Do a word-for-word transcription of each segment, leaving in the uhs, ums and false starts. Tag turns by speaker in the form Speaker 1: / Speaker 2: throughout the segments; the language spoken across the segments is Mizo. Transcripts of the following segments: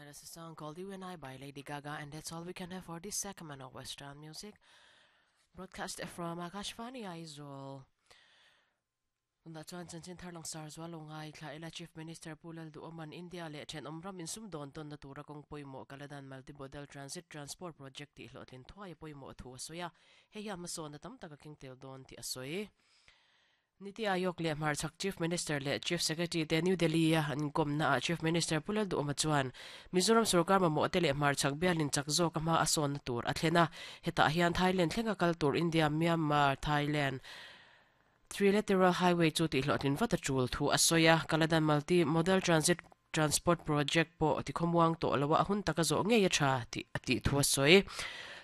Speaker 1: That is a song called You and I by Lady Gaga, and that's all we can have for this segment of Western music. Broadcast from Akashvani Aizawl. Tuna chuan chanchin thar langsar zual lo ngai thla ila Chief Minister Pu Lalduhoma'n India leh thenawm ram insumdawn tawnna tura kawng pawimawh Kaladan Multimodal Transit Transport Project tih hlawhtlin thuai pawimawh thu a sawi a, hei hian hmasawnna tam tak a keng tel dawn tih a sawi. Niti Aayog leh Hmarchhak Chief Minister leh Chief Secretary te New Delhi a an kawmna ah Chief Minister Pu Lalduhoma chuan Mizoram sorkar mamawh te leh Hmarchhak bialin chak zawk a hma a sawnna tur a thlen a, hetah hian Thailand thlenga kal tur India Myanmar Thailand Trilateral Highway chu tih hlawhtlin vat a tul thu a sawi a, Kaladan Multi Modal Transit Transport Project pawh tikhamuang tawh lo a hun taka zawh ngei a tha tih a tih thu a sawi.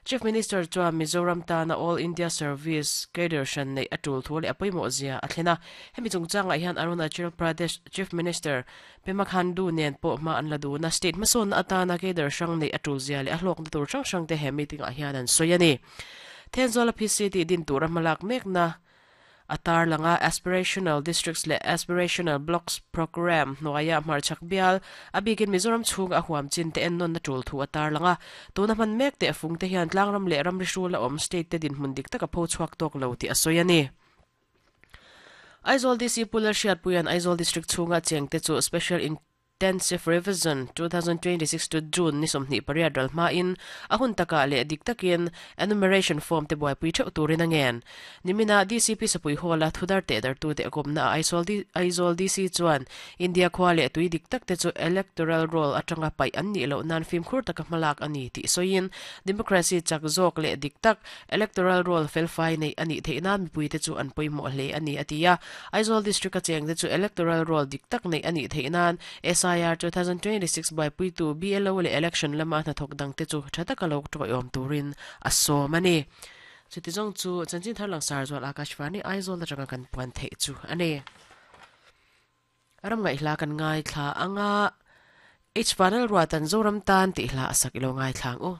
Speaker 1: Chief Minister chuan Mizoram tana All India Service cadre hran neih a tul thu leh a pawimawh zia a thlen a, hemi chungchangah hian Arunachal Pradesh Chief Minister Pema Khandu nen pawh hma an la dun a, state hmasawnna atana cadre hrang neih a tul zia leh a hlawkna tur hrang hrang te he meeting ah hian an sawi a ni. Thenzawl a P C tih din tura hmalak mekna a tarlanga Aspirational Districts leh Aspirational Blocks Programme hnuaia Hmarchhak bial a bikin Mizoram chhung a huam chin te ennawn na tul thu a tarlanga tuna hman mek te fung te hian tlangram leh ramri hrul a awm state te dinhmun dik taka pho chhuak tawk lo tih a sawi a ni. Aizawl D C Pu Lalhriatpuia'n Aizawl District chhunga cheng te chu Special Intensive Revision twenty twenty-six to June ni sawmhnih pariat ral hmain a hun takah leh dik takin enumeration form te buaipui theuh turin a ngen. Nimina D C P Sapui Hall a thudar teh dartu te akawmna a Aizawl Aizawl D C chuan India khua leh tui dik tak te chu electoral roll atanga paih an nih loh nan fimkhur taka hmalak ani tih sawiin democracy chak zawk leh dik tak electoral roll felfai nei ani theihna mipui te chu an pawimawh hle ani a ti a. Aizawl District a cheng te chu electoral roll dik tak nei ani theihnan S I R twenty twenty-six buaipui tu B L O leh election lama hnathawk dang te chu tha taka lo tawiawm turin a sawm ani. Chuti zawng chu chanchin thar langsar zual Akashvani Aizawl atanga kan puan theih chu ani. Ram ngai hla kan ngai thla anga H Vanal Ruatan Zoram tan tih hla asak ilo ngai thlang u.